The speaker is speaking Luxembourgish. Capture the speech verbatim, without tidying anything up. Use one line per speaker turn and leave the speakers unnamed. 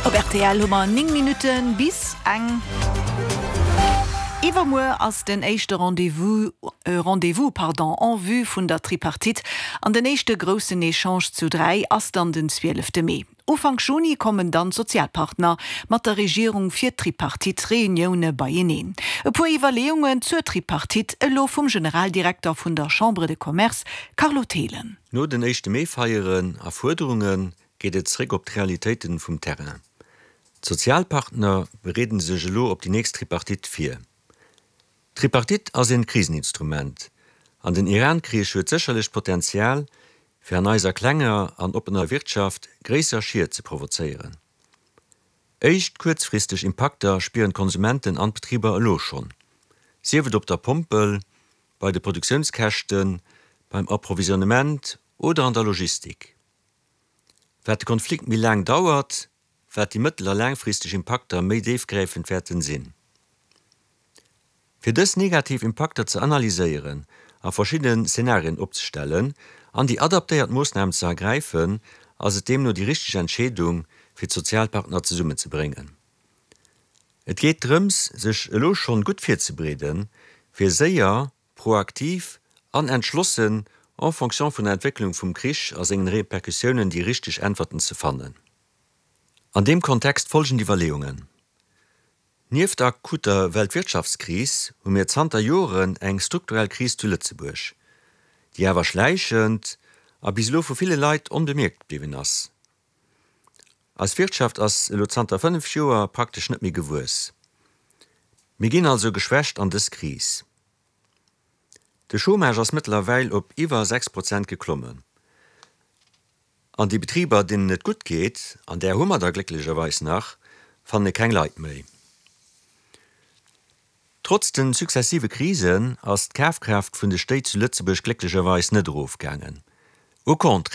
Op R T L hu mer néng Minutten bis eng. Iwwermuer ass den éischte Rendez-vous äh, Rendez-vous pardon, en vue vun der Tripartite. An den éischte groussen Echange zu dräi ass dann den zwielefte Mee. Ufank Juni kommen dann d'Sozialpartner mat der Regierung fir Tripartite-Reunioune beieneen. E puer Iwwerleeungen zur Tripartite elo vum Generaldirekter vun der Chambre de Commerce, Carlo Thelen.
No den éischte Mee-Feieren a Fuerderunge geet et zréck op d'Realitéiten vum Terrain. D'Sozialpartner bereeden sech elo op déi nächst Tripartite vir. Tripartite ass en Kriseninstrument. An den Iran-Krich huet sécherlech Potenzial, fir an eiser klenger an oppener Wirtschaft gréisser Schied ze provozéieren. Éischt kuerzfristeg Impakter spieren d'Konsumenten an d'Betriber elo schonn. Sief et op der Pompel, bei de Produktiounskäschten, beim Approvisionnement oder an der Logistik. Wat de Konflikt méi laang dauert, wat déi mëttel- a laangfristeg Impakter méi déifgräifend wäerten sinn. Fir dës negativ Impakter ze analyséieren a verschidden Szenarien opzestellen an déi adaptéiert Moossnamen ze ergräifen, ass et deemno déi richteg Entscheedung, fir d'Sozialpartner zesummenzebréngen. Et geet drëms, sech elo schonn gutt virzebereeden, fir séier, proaktiv an entschlossen en fonction vun der Entwécklung vum Krich a sengen Repercussiounen déi richteg Äntwerten ze fannen. An deem Kontext folgend Iwwerleeungen. Nieft der akuter Weltwirtschaftskris hu mir zanter Joren eng strukturell Kris zu Lëtzebuerg, déi awer schläichend a bis elo vu ville Leit onbemierkt bliwwen ass. Eis Wirtschaft ass elo zanter fënnef Joer praktesch net méi gewuess. Mir ginn also geschwächt an dës Kris. De Chômage ass mëttlerweil op iwwer sechs Prozent geklommen. An déi Betriber, deenen et gutt geet, an där hu mer der glécklecherweis nach, fanne keng Leit méi. Trotz den successive Krisen ass d'Kafkraaft vun de Stéit zu Lëtzebuerg glécklecherweis net erofgaangen. Au contraire.